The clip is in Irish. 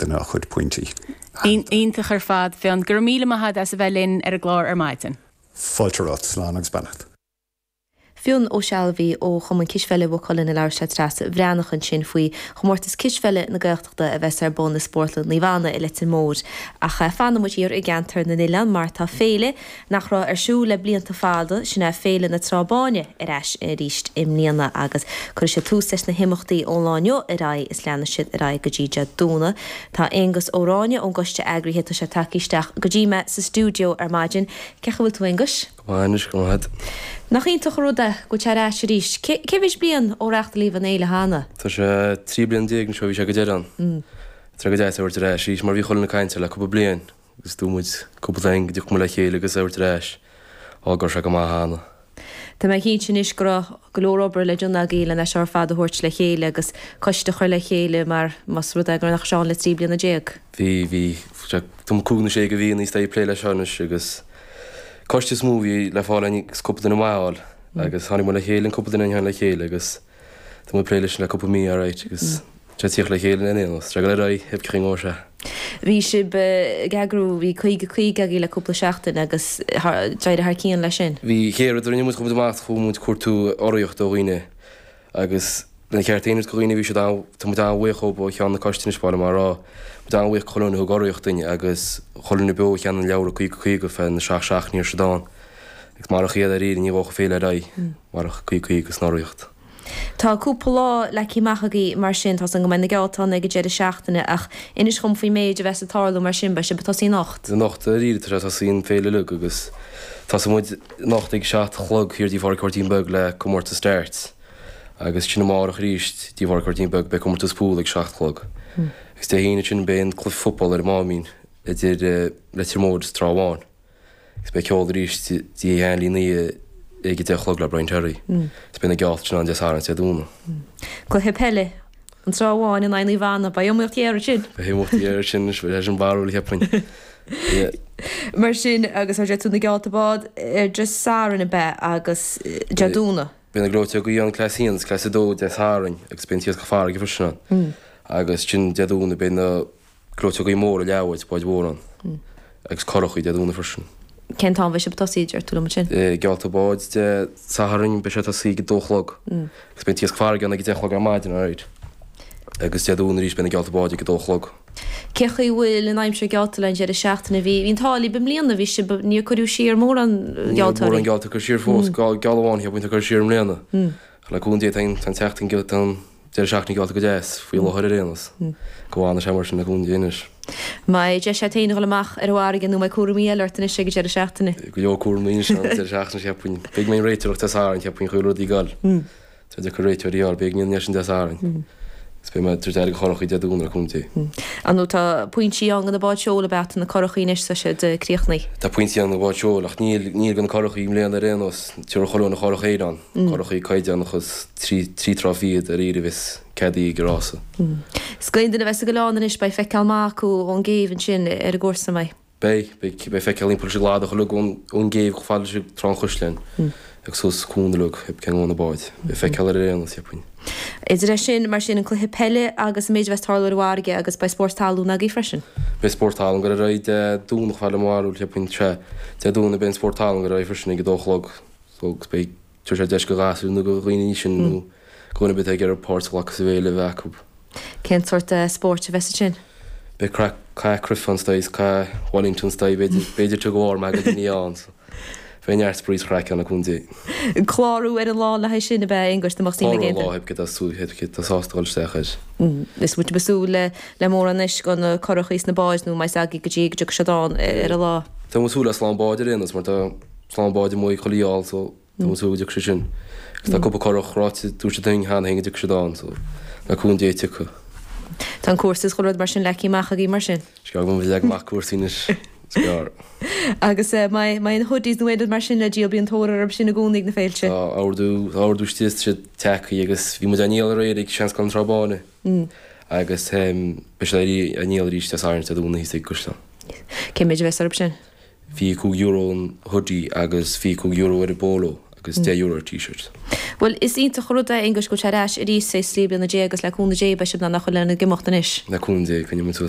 duine a chuid pointí. Iontach ar fad, Fionn. Go raibh míle maith agat as a bheith linn ar an gclár ar maidin. Fáilte romhat. Slán agus beannacht. Fionn Ó Sealbhaigh ó Chumann Cispheile Mhaigh Cuilinn ag labhairt le Treasa Bhreathnach ansin faoi Chomórtas Cispheile na Gaeltachta a bheas ar bun i Spórtlann Naomh Anna i Leitir Móir. Ach fanfaidh muid thiar i gceantar na n-oileán mar tá féile nach raibh ar siúl le blianta fada, sin é Féile na Trá Báine, ar ais arís i mbliana agus cuirfidh siad tús leis na himeachtaí ón lá inniu ar aghaidh is leanfaidh siad ar aghaidh go dtí Dé Domhnaigh. Tá Aonghus Ó Ráinne ón gcoiste eagraithe, tá sé tagtha isteach go dtí mé sa stiúideo ar maidin. Cén chaoi a bhfuil tú Aonghuis? Go maith anois, go maith. Nach iontach an rud é go bhfuil sé ar ais arís. Cé mhéid bliain ó reáchtálaíodh an fhéile cheana? Tá sé 13 bliana anois ó bhí sé go deireadh ann. Tá sé go deas é a thabhairt ar ais arís mar bhí chuile dhuine ag caint air le cúpla bliain agus dúirt muid cúpla duine go dtiocfadh muid le chéile agus é a thabhairt ar ais. Á go raibh sé go maith cheana. Tá mé cinnte anois go raibh go leor obair le déanamh agaibh len é seo ar fad a thabhairt le chéile agus coiste a chur le chéile mar más rud é gur nach raibh sé ann le 13 bliana. Bhí, bhí. Tá cúig nó sé de mhíonna is ag plé leis seo anois agus coiste is mó a bhí le fáil agus cúpla duine maith a fháil agus tháinig muid le chéile, an cúpla duine a tháinig le chéile agus tá muid ag plé leis le cúpla mí alright agus tá sé ag tíocht le chéile in aon nós, tá sé ag dul ar aghaidh, cén chaoi a ngabhfaidh sé. Bhí sibh ag eagrú, bhí 50 50 agaibh le cúpla seachtain agus d'éirigh thar cionn leis sin. Bhí, chéad rud a rinne muid, chuaigh muid amach, chuaigh muid ag cuartú urraíocht ó dhaoine agus lena cheart féin do dhaoine bhí siad an, tá muid an-bhuíoch dhóibh ó cheann na coiste anois ba mhaith liom a rá, muid an-bhuíoch chuile dhuine a thug urraíocht duinn agus chuile dhuine beo a cheannaigh an leabhar 50 50 fé na seacht seachtainí a raibh siad ann agus marach iad dáiríre ní ghabhfadh an féile ar aghaidh marach 50 50 agus an urraíocht. Tá cúpla lá leagtha amach agaibh mar sin, tá 's agam go mbeidh na geallta ann ag an deireadh seachtaine ach inis dhom faoin méid a bheas ag tarlú mar sin, beidh sibh ag tosaí anocht? Anocht dáiríre tá sé ag tosaí an féile uilig agus tosóidh muid anocht ag 7 a chlog thiar dtí Phádraig Mháirtín Beag le comórtas darts agus sin amárach arís dtí Phádraig Mháirtín Beag beidh comórtas pool ag 7 a chlog agus Dé hAoine sin beidh an cluiche football ar an Máimín idir Leitir Móir is Trá Bháin. Agus beidh ceol arís dtí Sheáin Ní ag a 10 a chlog le Brian Terry. Is beidh na geallta sin ann Dé Sathairn is Dé Domhnaigh. Cluiche peile, An Trá Bháin in aghaidh Naomh Anna. Beidh iomaíocht ghéar ansin. Beidh iomaíocht ghéar ansin anois, beidh sé sin barrúil cheapfainn. Yeah. Mar sin, agus ar deir tú na geallta bád ar Dé Sathairn ab ea agus Dé Domhnaigh. Beidh na gleoiteogaí ann Class 1 agus Class 2 Dé Sathairn agus beidh an t-iascach farraige freisin ann. Agus sin Dé Domhnaigh beidh na Gleoiteogaí móra leathbháid, báid mhóra ann agus currachaí Dé Domhnaigh freisin. Cén t-am a bheidh sibh ag tosaí, deir tú liom ansin? Geallta báid Dé Sathairn, beidh sé ag tosaí ag a dó a chlog agus beidh an t-iasc farraige ann ag a deich a chlog ar maidin, alright. Agus Dé Domhnaigh arís beidh na geallta báid ag a dó a chlog. Cé chaoi a bhfuil an aimsir geallta le an deireadh seachtaine? Bhí an t-ádh libh i mbliana, bhí sibh, níor cuireadh siar mórán gealltóirí. Níl mórán geallta curtha siar fós, geall amháin cheapfainn atá curtha siar i mbliana. Le cúnamh Dé tá an tseachtain, tá an deireadh seachtaine geallta go deas, faoi láthair ar aon nós. Go bhfana sé mar sin le cúnamh Dé anois. Mbeidh deis agat féin a dhul amach ar an bhfarraige nó mbeidh cúraimí eile ort anois ag an deireadh seachtaine? Go leor cúraimí anois an deireadh seachtaine cheapfainn. Beidh mé ag réiteoireacht Dé Sathairn cheapfainn chuile rud ag dul. Tá deacair réiteoirí a fháil, beidh mé ansin Dé Sathairn. Agus beidh mé ag tabhairt aire do churachaí Dé Domhnaigh le cúnamh Dé. Ar ndóigh tá pointí ann do na báid seoil ab ea tá na curachaí anois tá siad críochnaithe. Tá pointí ann do na báid seoil ach níl níl do na curachaí i mbliana ar aon nós. Tabharfaidh chuile dhuine curach Éireann, curachaí caighdeánacha trí trí trá fichead ar iarraidh a bheas ceadaithe ag an rása. Is d'aon duine a bheas ag oileán anois beidh feiceáil maith acu ón gcéibh ansin ar an gcúrsa an mbeidh? Beidh, beidh, beidh feiceáil thimpeall leis an gcladach uilig ón, ón gcéibh chomh fada leis an Trá an Chaisleáin agus suas cuan uilig, cén gabhann na báid. Beidh feiceáil ar aon nós, cheapfainn. Idir é sin, mar sin, an cluiche peile agus an méid a bheas ag tarlú ar an bhfarraige agus beidh spórt talún agaibh freisin. Beidh spórt talún ag dul ar aghaidh Dé Domhnaigh fad le mo bharúil, cheapfainn, sea. Dé Domhnaigh beidh an spórt talún ag dul ar aghaidh freisin ag a dó a chlog so agus beidh, tabharfaidh sé deis do ghasúir nó do dhaoine sin nó do dhuine ar bith atá ag iarraidh páirt a ghlacadh sa bhféile a bheith acu. Cén sórt spóirt a bheas ansin? Beidh craic, cath cruife ann is dóigh, cath Wellington is dóigh, b'fhéidir, b'fhéidir tug of war mar go daoine ann so beidh neart spraoi is craic ann le cúnamh Dé. Clárú ar an lá le haghaidh sin ab ea, Aonghus, dá mbeadh suim ag aon duine? Clárú ar an lá, pé cé atá súil, pé cé atá sásta dul isteach air. Is muid ag súil le le mórán anois do na curachaí is na báid nó an mbeidh a fhios agaibh go dtí go dtiocfaidh siad ann ar an lá? Tá muid ag súil le slám báid ar aon nós mar tá slám báid amuigh ag chuile gheall so Tá muid ag súil go dtiocfaidh siad sin. Agus tá cúpla curach ráite, dúirt siad dúinn cheana féin go dtiocfaidh siad ann, so le cúnamh Dé tiocfaidh. Tá an cúrsa is chuile rud mar sin leagtha amach agaibh mar sin? Is gearr go mbeidh leag amach cúrsaí anois. Is gearr. Agus mbeidh na hoodies nó aon rud mar sin le díol, bíonn tóir orthu sin i gcónaí ag na féilte. Tá ordú, tá ordú istigh, tá siad tagtha agus bhí muid á ndíol aréir ag Seanscoil an Trá Báine agus beidh siad á ndíol arís Dé Sathairn is Dé Domhnaigh thíos ag an gCaisleán. Cén méid a bheas orthu sin? €25 an hoodie agus €25 ar an bpolo agus €10 ar t-shirt. Bhuel, is iontach an rud é, Aonghus, go bhfuil sé ar ais arís tar éis 13 bliana agus le cúnamh Dé beidh sibh in ann a chur lena ag imeacht anois. Le cúnamh Dé, coinneoidh muid suas é.